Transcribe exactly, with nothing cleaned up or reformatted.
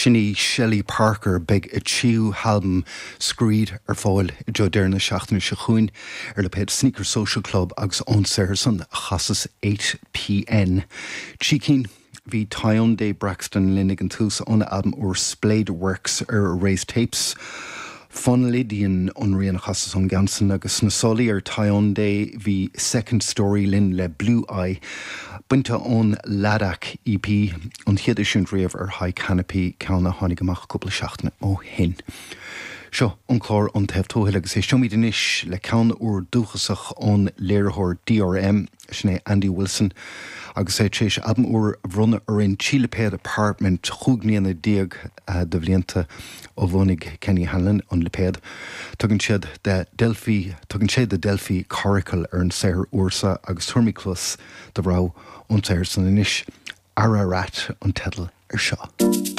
Sin í Shelley Parker beidh a tríú halbam Screed ar fáil i dtreo deireadh na seachtaine seo chugainn ar lipéad Sneaker Social Club agus ón saothar san a chasas eight PN. Trí cinn bhí Tyondai Braxton linn ag an tús óna albam úr Splayed Works ar Erased Tapes. Fonlidian an rian a chasas ón gceann san agus sna sálaí ar Tyondai bhí Second Story linn le Blue Eye, bainte ón Ladakh EP an chéad eisiúint riamh ar High Canopy ceann a tháinig amach cúpla seachtain ó shin. Seo an clár An Taobh Tuathail agus éisteoimid anois le ceann úr dúchasach ón léiritheoir DRM sin é Andy Wilson agus é tar éis albam úr a bhronnadh orainn trí lipéad Apartment chúig bliana déag de bhlianta ó bhunaigh Kenny Hanlon an lipéad. Tugann siad de Delphi tugann sé The Delphi Coracle ar an saothar úr seo agus tabharfaimid cluas do rogha ón saothar san anois Ararat an teideal ar seo.